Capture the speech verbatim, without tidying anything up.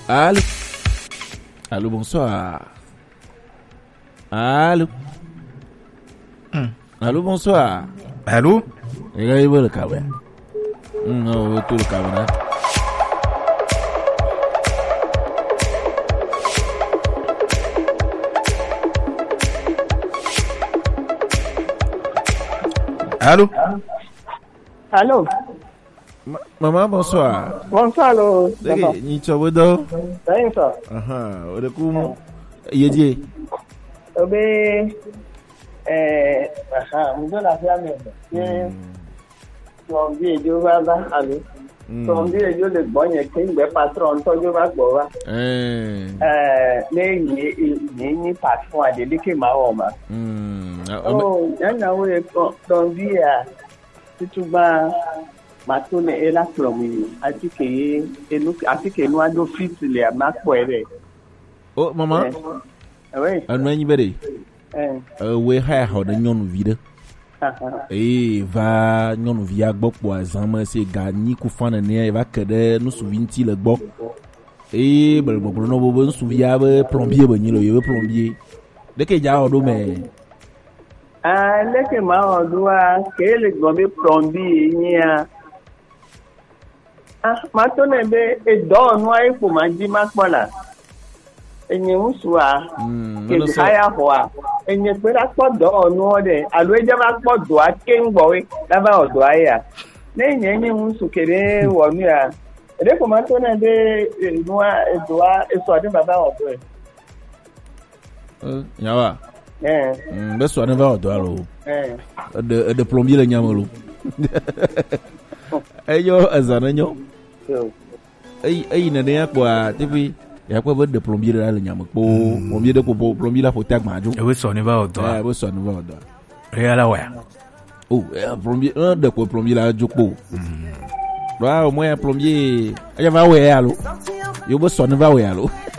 Allô? Allô, bonsoir. Allô? Hmm. Allô, bonsoir. Allô? Regarde, il veut le câble. Hmm, non, il veut tout le câble, hein. Allô? Allô? Ma-, maman, bonsoir. Bonsoir, lo. Dege, papa. Nyi tsɔ be dɔ. Salut, ça. Aha, o de ku. Ye die. Obe, eh, aha, mo do la fia me. Hmm. Plombier jo va va, allô. Hmm. Plombier jo le gbɔ nye ke ngbe patron to jo va gbɔ va. Eh. Eh, ne nye, nye, nye patron a de ke ma wo ma. Hmm. Ah, oh, nyanya wo ye plombier a. Tutu gba, ma to ne e la kplɔ mi, ati ke ye, enu, ati ke nu ado fit le, ma kpɔe ɖe. Oh, maman. Eh. Eh, oui. Enu enyi be ɖe. Eh. Eh, we ha ya xɔ ɖe nyɔnuvi ɖe. Aha. Eye va nyɔnuvia gbɔ kpɔ azã me se ga nyi ku fan nene, eva ke ɖe nusuvi ŋuti le gbɔ. Eye bele gbɔgblɔ nɔ bo be ŋsuvia be plombier be nyi lo, ye be plombier. Ɖeke dza wɔ ɖo mɛ. Ah, leke ma wɔ ɖoa, ke le gbɔ be plombier nyia. Ah, ma to ne be edɔ nua ye kpo ma di ma kpɔ la. Enye ŋusua, mm, ke haya hoa. Enye kpe la kpɔ dɔ nua de, alo edze va kpɔ dɔa ke ŋgbɔ we, la va wɔ dɔa ya. Ne nye nye ŋusu ke ɖe wɔ nu ya. Eɖe ko ma to ne be, eh, nua, edɔa, esɔ ɖe baba wɔ dɔe. Eh, nyawa. Eh. Mm, be sɔ ne va wɔ dɔ alo. Eh. Eɖe, eɖe plombier le nyame lo. Eyo, ezã ne nyo. Yo. Eyi, eyi nene ya kpɔa, teƒe, ya kpɔ be ɖe plombier la le nyame kpo. Mm. Plombier ɖe ko, plombier la ƒo te agba dzo. Ebe sɔ ne va wɔ dɔ. Eh, ebe sɔ ne va wɔ dɔ. Eya la wɔ ya. Oh, eh, plombier, eh, ɖe ko plombier la dzo kpo. Mm. Ɖoa, o mɔ ya plombier, eya va wɔ ya alo. Yo be sɔ ne va wɔ ya alo.